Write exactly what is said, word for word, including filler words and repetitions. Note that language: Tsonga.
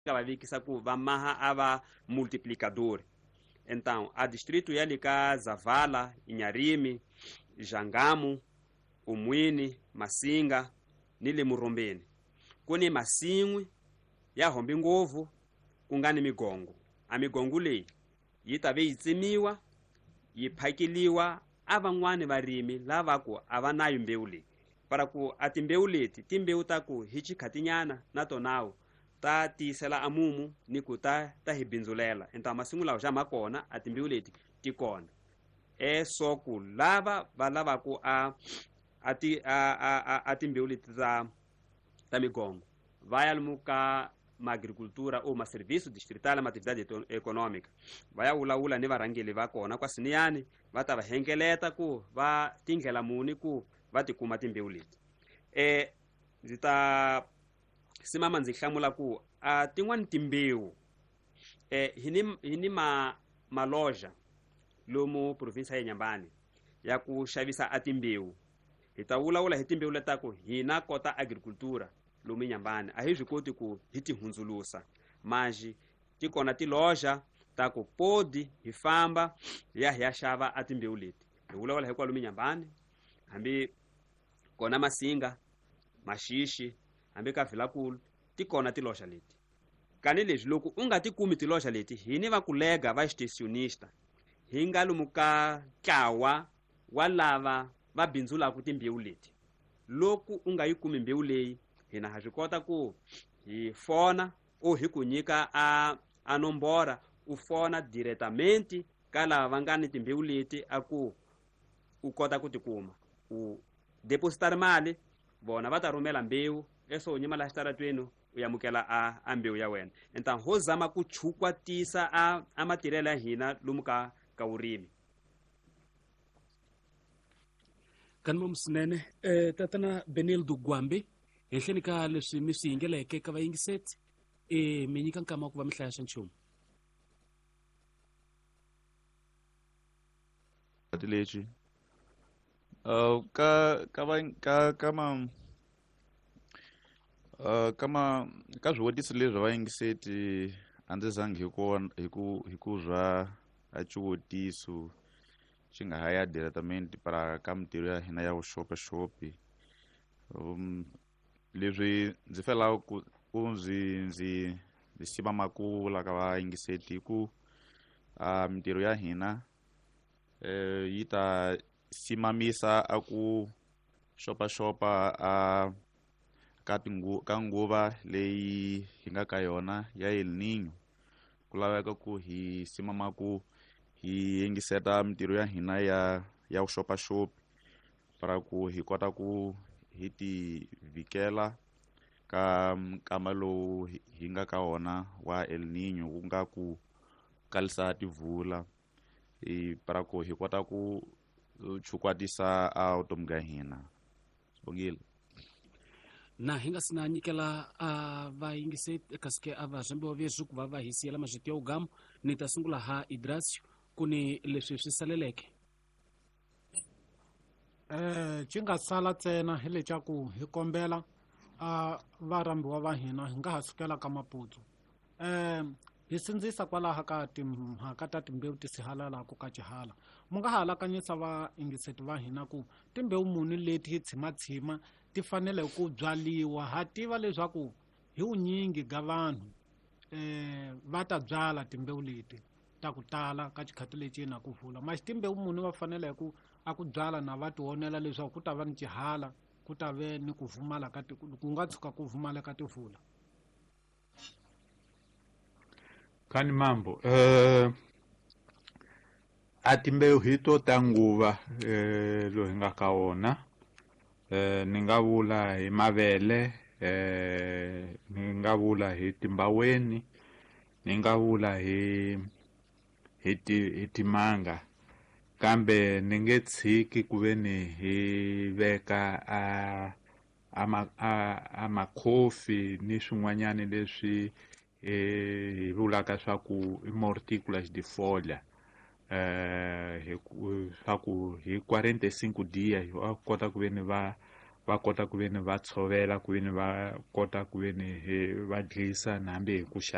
Nga va vekisa ku va maha a va multiplicador. Então a distrito ya le ka Zavala, Inharime, Jangamo, Umwini, Masinga ni le Murombeni ku ni masin'wi ya hombi ngopfu ku nga ni migongo. A migongo leyi yi ta ve yi tsemiwa yi phakeliwa a van'wani varimi lava ku a va nayo mbewu leyi, para ku a timbewu leti timbewu ta ku hi xikhatinyana na tonawo ta tiyisela a mumu ni ku ta ta hi bindzulela. Enta masimu lawa xa ma kona a timbewu leti ti kona e so ku lava va lavaku a a ti a a a timbewu leti ta ta migongo va ya lomu ka maagricultura ou maserviço distrital ma atividade econômica, va ya vulavula ni varhangeli va kona kwasiniyani, va ta va hengeleta ku va tindlela muni ku va tikuma timbewu leti. E ndzi ta simama ndzi hlamula ku a tin'wani timbewu e hi ni hi ni ma maloja lomu provinsi ya Inhambane ya ku xavisa a timbewu. Hi ta vulavula hi timbewu letaku hina kota agricultura lomu Inhambane a hi swi koti ku hi ti hundzulusa, manji ti kona tiloja ta ku podi hi famba hi ya hi ya xava a timbewu leti. Hi vulavula hi kwalomu Inhambane, hambi kona Masinga, Maxixi, hambi ka Vilakulu ti kona tiloja leti. Kani leswi loko u nga ti kumi tiloja leti, hi ni va kulega va extensionista hi nga lomu ka ntlawa wa lava va bindzulaka timbewu leti. Loko u nga yi kumi mbewu leyi, hina ha swi kota ku hi fona o hi ku nyika a a nombora u fona diretamente ka lava va nga ni timbewu leti a ku u kota ku tikuma u depositar mali, vona va ta rhumela mbewu eso u nyima laha xitaratweni u amukela a, a mbewu ya wena. Então ho zama ku chukwatisa a, a matirhelo ya hina lomu ka ka vurimi. Kanimo swinene eh, tatana Benildo Gwambi, henhleni ka leswi mi swi yingeleke ka vayingiseti e mi nyika nkama wa ku va mi hlaya xa nchumu lexi uh, ka ka va ka ka ma uh, ka ma ka swivutiso leswi vayingiseti a ndzi zangi hi ku hi ku hi ku zwa a xivutiso xi nga ha ya diretamente para ka mintirho ya hina ya vuxopaxopi. Um, leswi ndzi felaka ku ku ndzi ndzi ndzi siva makula ka vayingiseti hi ku uh, mintirho ya hina eh, yi ta simamisa a ku xopaxopa a ka tingu ka nguva leyi hi nga ka yona ya El Niño. Ku laveka ku hi simama ku hi yingiseta mintirho ya hina ya ya vuxopaxopi para ku hi kota ku hi ti vhikela ka nkama lowu hi nga ka wona wa El Niño, ku nga ku kalisa tivula hi para ku hi kota ku chukwatisa a vutomi bya hina. Sibongile. Na hi nga si na nyikela a vayingiseti kasi a va zvambiwa veswi ku va va hi siyela mazviti ya ugamu, ni ta sungula ha Idrasio ku ni leswi swi saleleke. Eh xi nga sala ntsena hi leswaku hi kombela a varhambiwa va hina hi nga ha sukela ka Maputo. Eh hi sindzisa kwalaho ka timhaka ta timbewu ti sihalalaku ka xihala. Mu nga ha alakanyisa vayingiseti va hina ku timbewu muni leti hi tshimatshima ti fanele ku byaliwa. Ha tiva leswaku hi vunyingi ga vanhu eh va ta byala timbewu leti ta ku tala ka xikhati lexi na ku vula maxi timbewu muni va fanele ku a ku byala na va tionela leswaku ku ta va ni xihala, ku ta ve ni ku vumala ka ku nga tshuka ku vumala ka tivula. Kani mambo eh a timbewu hi to ta nguva eh loyi nga ka wona eh ni nga vula hi mavele, eh ni nga vula hi timbaweni, ni nga vula hi hi ti hi timanga, kambe ni nge tshiki ku ve ni hi veka a a a a makhofi ni swin'wanyani leswi hi vulaka swa ku i mortículas de folha eh hi swa ku hi quarenta e cinco dias va kota ku ve ni va va kota ku ve ni va tshovela, ku ve ni va kota ku ve ni va dlisa na hambi hi ku